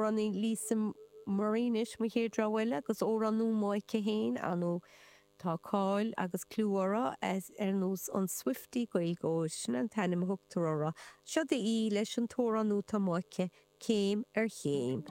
Amhránaí Lisa Murray anois, mo chéad rogha eile, agus amhrán nua aici féin, ar ndóigh tá cáil agus clú uirthi as ar nós an Swiftie Gaeilgeoir, sin an t-ainm a thugtar uirthi. Seod í leis an t-amhrán nua atá amuigh aici, Céim ar Chéim.